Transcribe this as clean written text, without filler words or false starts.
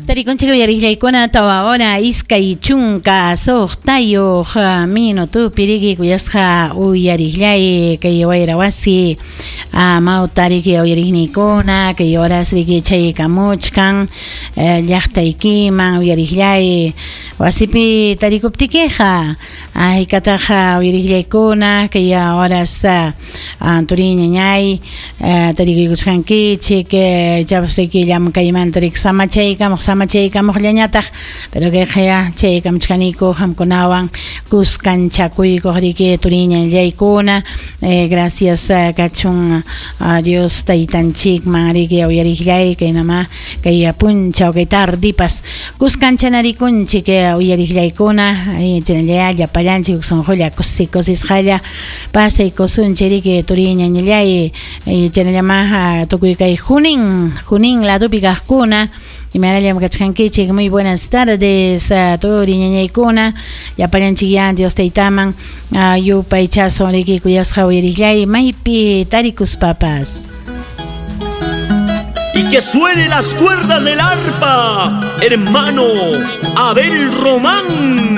Tarikunchik uyariqllaykuna 4 hora 26 minutupi riki, kuyasqa uyariqllay, kay wayra wasi amawta riki, uyariqniykuna kay horas riki chaykamuchkan llaqtaykiman. Uyariqllay, wasipi tarikuptikiqa haykataqa, uyariqllaykuna, kay horas turi ñañay tarikuykusqankichik, chapas riki llamkaymanta riki samachaykamuq, samachaykamuqllañataq, pero kayqa ya chaykamuchkaniku qamkunawan kuskanchakuykuq riki, turi ñañaykuna. Gracias kachun Dios taytanchikman riki, uyariqllay, kaynama kay punchaw, kay tardipas kuskanchanarikunchik, uyariqllaykuna. Chaynalla llapallanchik sunqulla kusi kusisqalla pasaykusunchik riki, turi ñañallay. Chaynallama tukuy kay Junín ladopi kaqkuna, imanallam kachkankichik? Muy buenas tardes, turi ñañaykuna. Llapallanchik ya Dios taytaman yupaychasun riki, kuyasqa uyariqllay, maypi tarikuspapas. Y que suene las cuerdas del arpa, hermano Abel Román.